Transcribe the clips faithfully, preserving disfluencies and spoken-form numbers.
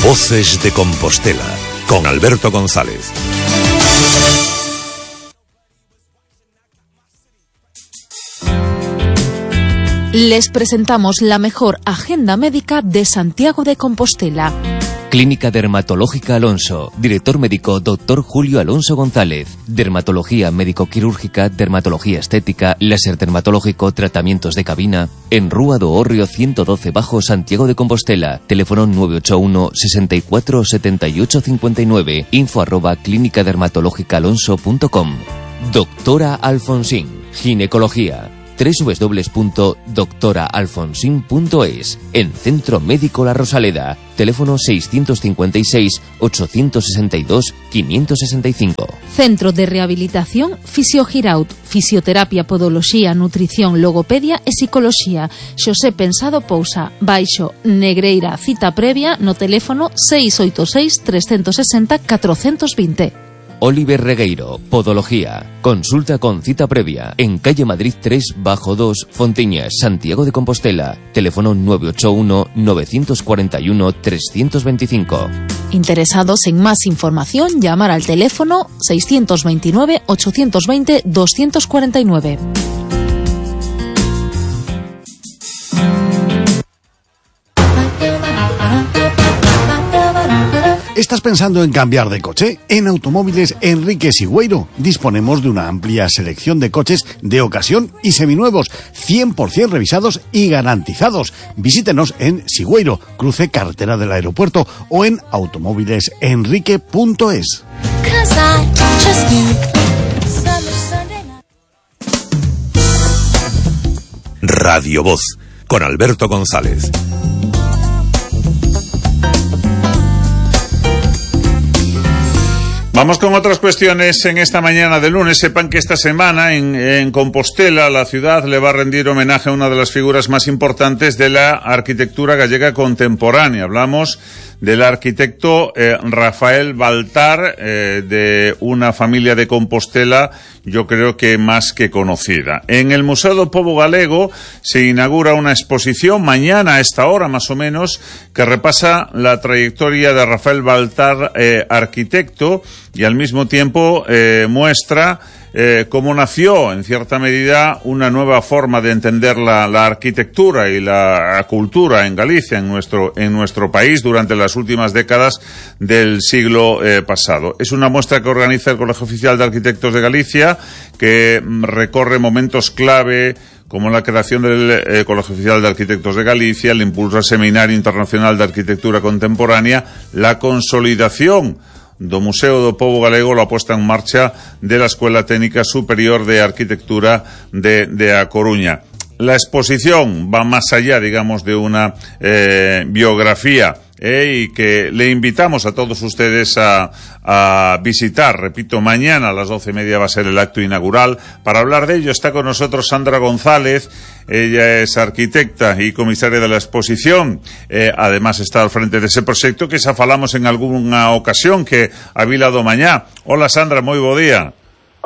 Voces de Compostela, con Alberto González. Les presentamos la mejor agenda médica de Santiago de Compostela. Clínica Dermatológica Alonso. Director médico doctor Julio Alonso González. Dermatología médico-quirúrgica, dermatología estética, láser dermatológico, tratamientos de cabina. En Rúa do Hórreo ciento doce Bajo, Santiago de Compostela. Teléfono nueve ocho uno, sesenta y cuatro, setenta y ocho cincuenta y nueve. Info arroba clínica dermatológica alonso punto com. Doctora Alfonsín. Ginecología. doble u doble u doble u punto doctora alfonsín punto es. En Centro Médico La Rosaleda. Teléfono seiscientos cincuenta y seis, ochocientos sesenta y dos, quinientos sesenta y cinco. Centro de Rehabilitación Fisiogiraut. Fisioterapia, podoloxía, nutrición, logopedia e psicoloxía. Xosé Pensado Pousa. Baixo Negreira. Cita previa no teléfono seis oito seis, tres seis cero, catro dos cero. Oliver Regueiro, Podología. Consulta con cita previa. En calle Madrid tres bajo dos, Fontiñas, Santiago de Compostela. Teléfono nueve ocho uno, nueve cuatro uno, tres dos cinco. Interesados en más información, llamar al teléfono seiscientos veintinueve, ochocientos veinte, doscientos cuarenta y nueve. ¿Estás pensando en cambiar de coche? En Automóviles Enrique Sigüeiro disponemos de una amplia selección de coches de ocasión y seminuevos, cien por ciento revisados y garantizados. Visítenos en Sigüeiro, cruce carretera del aeropuerto, o en automóviles enrique punto es. Radio Voz, con Alberto González. Vamos con otras cuestiones en esta mañana de lunes. Sepan que esta semana en, en Compostela la ciudad le va a rendir homenaje a una de las figuras más importantes de la arquitectura gallega contemporánea. Hablamos del arquitecto eh, Rafael Baltar, eh, de una familia de Compostela, yo creo que más que conocida. En el Museo do Pobo Galego se inaugura una exposición mañana a esta hora más o menos que repasa la trayectoria de Rafael Baltar, eh, arquitecto, y al mismo tiempo eh, muestra eh, cómo nació en cierta medida una nueva forma de entender la, la arquitectura y la cultura en Galicia, en nuestro en nuestro país durante las últimas décadas del siglo eh, pasado. Es una muestra que organiza el Colegio Oficial de Arquitectos de Galicia, que recorre momentos clave como la creación del eh, Colegio Oficial de Arquitectos de Galicia, el impulso al Seminario Internacional de Arquitectura Contemporánea, la consolidación do Museo do Pobo Galego, la puesta en marcha de la Escuela Técnica Superior de Arquitectura de, de A Coruña. La exposición va más allá, digamos, de una eh, biografía, eh, y que le invitamos a todos ustedes a, a visitar. Repito, mañana a las doce y media va a ser el acto inaugural. Para hablar de ello está con nosotros Sandra González. Ella es arquitecta y comisaria de la exposición. Eh, además está al frente de ese proyecto que xa falamos en alguna ocasión, que a Vila do Mañá. Hola Sandra, moi bo día.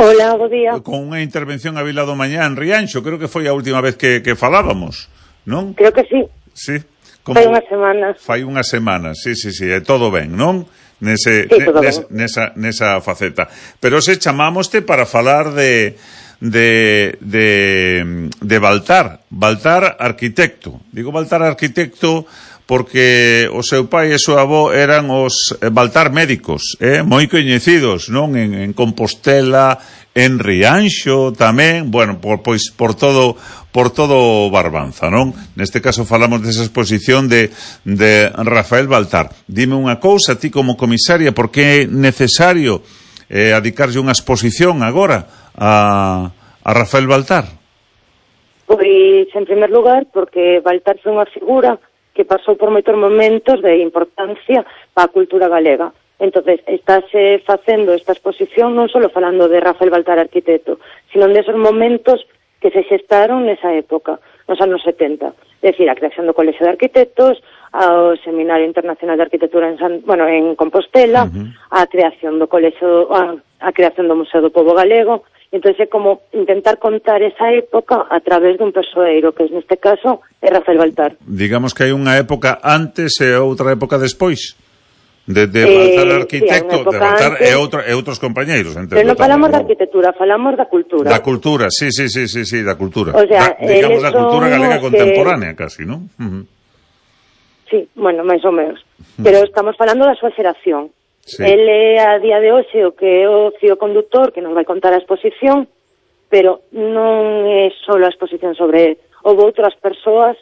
Hola, bo día. Con unha intervención a Vila do Mañá en Rianxo, creo que foi a última vez que, que falábamos, non? Creo que sí. Sí. Como... Fai unhas semanas. Fai unhas semanas, sí, sí, sí, é todo ben, non? Nese, sí, todo nes, ben. Nesa, nesa faceta. Pero se chamámoste para falar de... de de de Baltar, Baltar arquitecto. Digo Baltar arquitecto porque o seu pai e o seu avó eran os Baltar médicos, eh, moi coñecidos, non? En, en Compostela, en Rianxo tamén, bueno, por pois por todo por todo Barbanza, non? Neste caso falamos desa exposición de de Rafael Baltar. Dime unha cousa, ti como comisaria, por que é necesario eh, adicarlle unha exposición agora a, a Rafael Baltar? Pois, en primer lugar, porque Baltar foi unha figura que pasou por moitos momentos de importancia para a cultura galega. Entonces, estáse facendo esta exposición non só falando de Rafael Baltar arquitecto, sino de esos momentos que se xestaron nesa época, nos anos setenta. É dicir, a creación do Colexio de Arquitectos, ao Seminario Internacional de Arquitectura en, San, bueno, en Compostela, uh-huh. a creación do Colexio, a, a creación do Museo do Pobo Galego. Entón é como intentar contar esa época a través dun persoeiro, que neste caso é Rafael Baltar. Digamos que hai unha época antes e outra época despois. de, de Eh, Baltar arquitecto, sí, de Baltar antes, e, outro, e outros compañeiros, entendo. pero non falamos tamén, da arquitectura, falamos da cultura. Da cultura, sí, sí, sí, sí, sí, da cultura. O sea, da, digamos, da cultura galega que... contemporánea, casi, non? Uh -huh. Sí, bueno, máis ou menos. Pero estamos falando da súa xeración. Sí. El é a día de hoxe o que é o fío conductor que nos vai contar a exposición, pero non é só a exposición sobre ele. Houve outras persoas,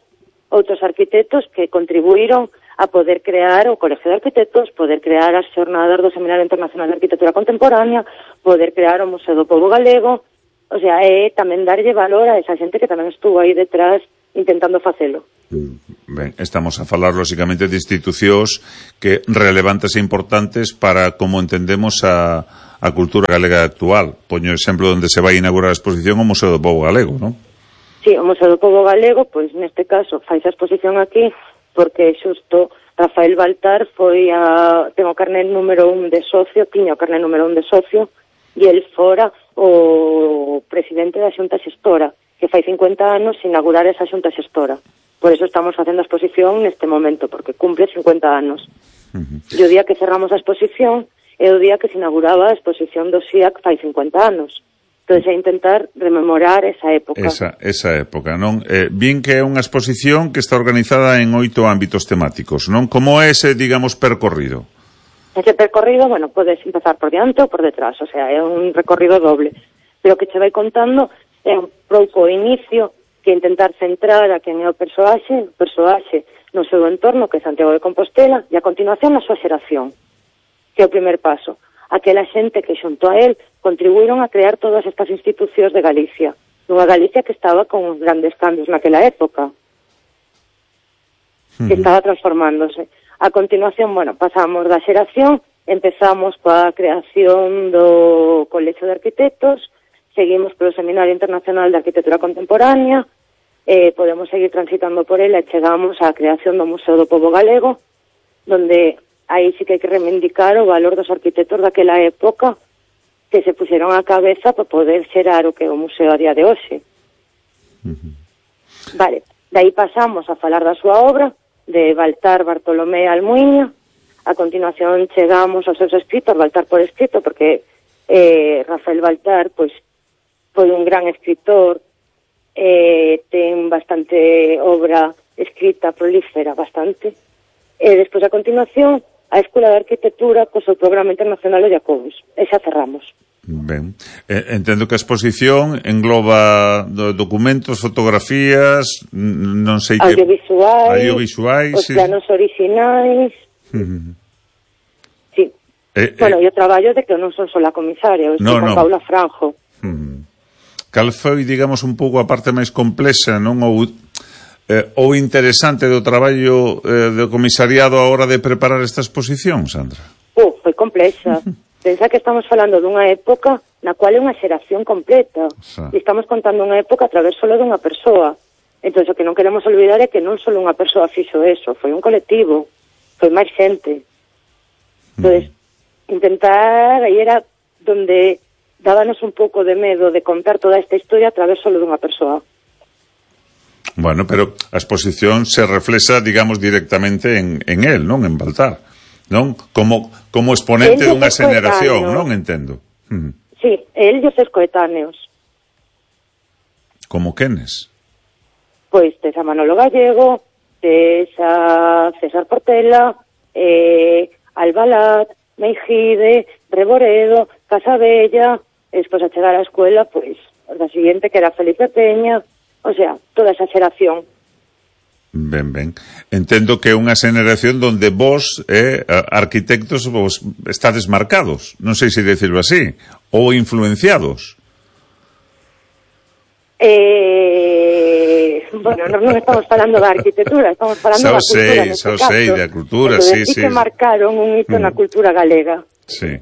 outros arquitectos que contribuíron a poder crear o Colegio de Arquitectos, poder crear as xornadas do Seminario Internacional de Arquitectura Contemporánea, poder crear o Museo do Pobo Galego, o sea, é tamén darlle valor a esa xente que tamén estuvo aí detrás intentando facelo. Ben, estamos a falar, lóxicamente, de institucións que relevantes e importantes para como entendemos a, a cultura galega actual. Poño o exemplo onde se vai inaugurar a exposición o Museo do Pobo Galego, non? Sí, o Museo do Pobo Galego, pois neste caso fai a exposición aquí porque xusto Rafael Baltar foi a... ten o carnet número un de socio, tiña o carnet número un de socio, e el fora o presidente da Xunta Xestora, que fai cincuenta anos inaugurar esa Xunta Xestora. Por eso estamos facendo a exposición neste momento, porque cumple cincuenta anos. Uh-huh. E o día que cerramos a exposición é o día que se inauguraba a exposición do S I A C fai cincuenta anos. Entón, é intentar rememorar esa época. Esa, esa época, non? Eh, bien que é unha exposición que está organizada en oito ámbitos temáticos, non? Como é ese, digamos, percorrido? Ese percorrido, bueno, podes empezar por diante ou por detrás, o sea, é un recorrido doble. Pero que che vai contando é un pouco o inicio, que intentar centrar a quen é o persoaxe, o persoaxe no seu entorno, que é Santiago de Compostela, e a continuación na súa xeración, que é o primer paso. Aquela xente que xunto a él contribuíron a crear todas estas institucións de Galicia, nunha Galicia que estaba con grandes cambios naquela época, que estaba transformándose. A continuación, bueno, pasamos da xeración, empezamos coa creación do Colexio de Arquitectos, seguimos polo Seminario Internacional de Arquitectura Contemporánea, eh, podemos seguir transitando por ela e chegamos á creación do Museo do Pobo Galego, donde aí sí que hai que reivindicar o valor dos arquitectos daquela época que se puxeron á cabeza para poder xerar o que é o museo a día de hoxe. Uh-huh. Vale, de aí pasamos a falar da súa obra, de Baltar Bartolomé Almuiña. A continuación chegamos aos seus escritos, Baltar por escrito, porque eh, Rafael Baltar, pois, foi un gran escritor, eh, ten bastante obra escrita, prolífera, bastante. E despois, a continuación, a Escola de Arquitectura co seu programa internacional de Jacobus. E xa cerramos. Ben, eh, entendo que a exposición engloba do, documentos, fotografías, non sei que... Audiovisuais, audiovisuais os sí. planos orixinais... Uh-huh. Sí. Eh, bueno, eh, e o traballo de que non son só a comisaria, o no, con no. Paula Franjo. Uh-huh. Cal foi, digamos, un pouco a parte máis complexa, non? Ou, eh, ou interesante do traballo eh, do comisariado a hora de preparar esta exposición, Sandra? Uh, foi complexa. Pensa que estamos falando dunha época na cual é unha xeración completa. Sa. E estamos contando unha época a través solo dunha persoa. Entón, o que non queremos olvidar é que non solo unha persoa fixo eso, foi un colectivo, foi máis xente. Entón, mm. intentar, aí era donde dábanos un pouco de medo de contar toda esta historia a través solo dunha persoa. Bueno, pero a exposición se reflexa, digamos, directamente en, en él, non? En Baltar, non? Como, como exponente dunha xeneración, non? Entendo. Uh-huh. Sí, él e os seus coetáneos. Como quenes? Pois tes a Manolo Gallego, tes a César Portela, eh, Albalat, Meijide, Reboredo, Casabella, e despois a chegar á escuela, pois, da siguiente que era Felipe Peña, o sea, toda esa xeración. Ben, ben. Entendo que é unha xeneración donde vos, eh, arquitectos, vos estades marcados, non sei se decirlo así, ou influenciados. Eh, bueno, non, non estamos falando da arquitectura, estamos falando da cultura. Xa sei, da cultura, sí, sí, sí. que marcaron un hito mm. na cultura galega. Sí,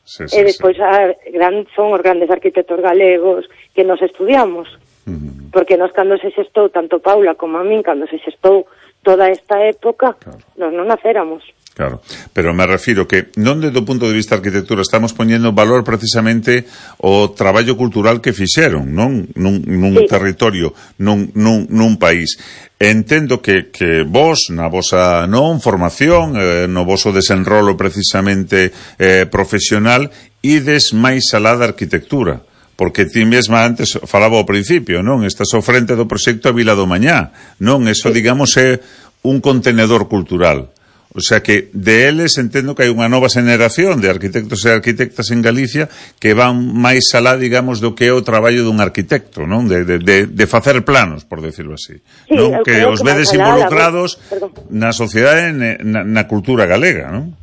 sí, sí. E despois sí. a, gran, son os grandes arquitectos galegos que nos estudiamos. Mm. Porque nos, cando se xestou, tanto Paula como a min, cando se xestou toda esta época, claro. nos non nacéramos. Claro, pero me refiro que non desde o punto de vista da arquitectura estamos poñendo valor precisamente o traballo cultural que fixeron, non? Nun, nun sí. territorio, nun, nun, nun país. Entendo que, que vos, na vosa non formación, eh, no voso desenrolo precisamente eh, profesional, ides máis alá da arquitectura. Porque ti mesma antes falaba ao principio, non? Estás ao frente do proxecto a Vila do Mañá, non? Eso, digamos, é un contenedor cultural. O sea que de eles entendo que hai unha nova xeneración de arquitectos e arquitectas en Galicia que van máis alá, digamos, do que é o traballo dun arquitecto, non? De, de, de, de facer planos, por decirlo así. Sí, non? Que os vedes involucrados na sociedade, na, na cultura galega, non?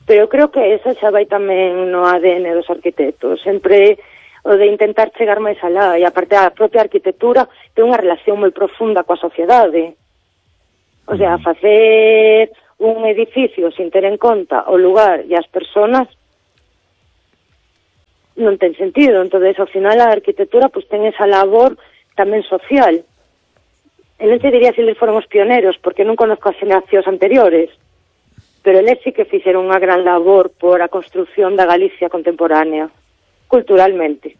Pero eu creo que esa xa vai tamén no A D N dos arquitectos. Sempre o de intentar chegar máis alá, e aparte a propia arquitectura ten unha relación moi profunda coa sociedade. O sea, facer un edificio sin ter en conta o lugar e as persoas non ten sentido. Entonces, ao final, a arquitectura pues, ten esa labor tamén social. E non te diría se eles foron os pioneros, porque non conozco as generacións anteriores, pero eles sí que fixeron unha gran labor por a construción da Galicia contemporánea, culturalmente.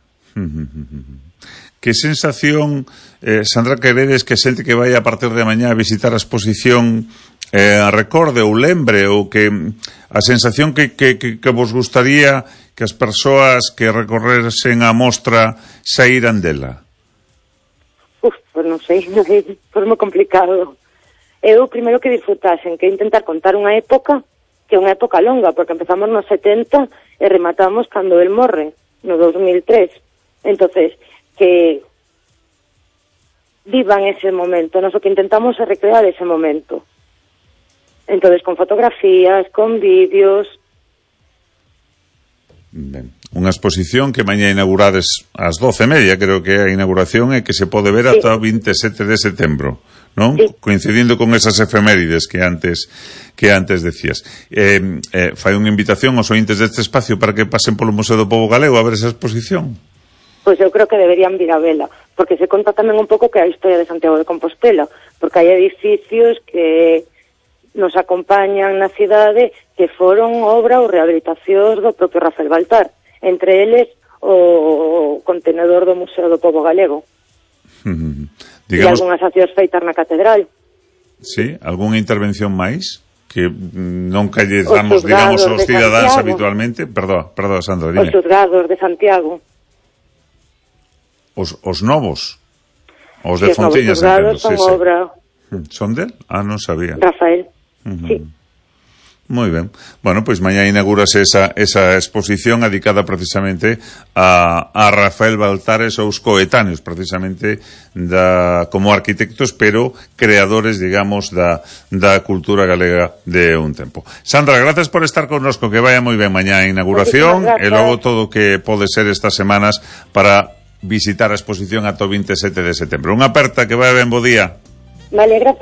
Que sensación, eh, Sandra, queredes que xente que vai a partir de mañá a visitar a exposición eh, a recorde ou lembre, ou que a sensación que, que, que, que vos gustaría que as persoas que recorrersen a mostra saíran dela? Uf, pues non sei, foi moi complicado. Eu primeiro que disfrutasen, que intentar contar unha época, que é unha época longa, porque empezamos nos setenta e rematamos cando el morre, no dos mil tres. Entonces, que vivan ese momento. Nos o que intentamos é recrear ese momento. Entonces, con fotografías, con vídeos. Ben, unha exposición que mañá inaugurades ás doce e media, creo que é a inauguración, e que se pode ver sí. ata o vinte e sete de setembro, non? Sí. Coincidindo con esas efemérides que antes que antes decías. Eh, eh, fai unha invitación aos ointes deste espacio para que pasen polo Museo do Pobo Galego a ver esa exposición. Pois eu creo que deberían vir a vela, porque se conta tamén un pouco que a historia de Santiago de Compostela, porque hai edificios que nos acompañan na cidade que foron obra ou rehabilitacións do propio Rafael Baltar, entre eles o contenedor do Museo do Pobo Galego. Mm-hmm. Digamos... E algunhas accións feitas na catedral. Sí, algunha intervención máis que non calles damos, digamos, aos cidadáns habitualmente? Perdón, perdón, Sandra, dime. Os xuzgados de Santiago. Os, os novos? Os de sí, Fontiñas, entendo. Son sí, obra... Sí. Son del? Ah, non sabía. Rafael, uh-huh. Sí. Moi ben. Bueno, pois pues mañá inaugurase esa, esa exposición dedicada precisamente a, a Rafael Baltar e seus coetáneos, precisamente da, como arquitectos, pero creadores, digamos, da, da cultura galega de un tempo. Sandra, gracias por estar connosco, que vaya moi ben mañá a inauguración, e logo todo o que pode ser estas semanas para visitar a exposición ata o vinte e sete de setembro. Unha aperta, que vaya ben, bo día. Vale, gracias.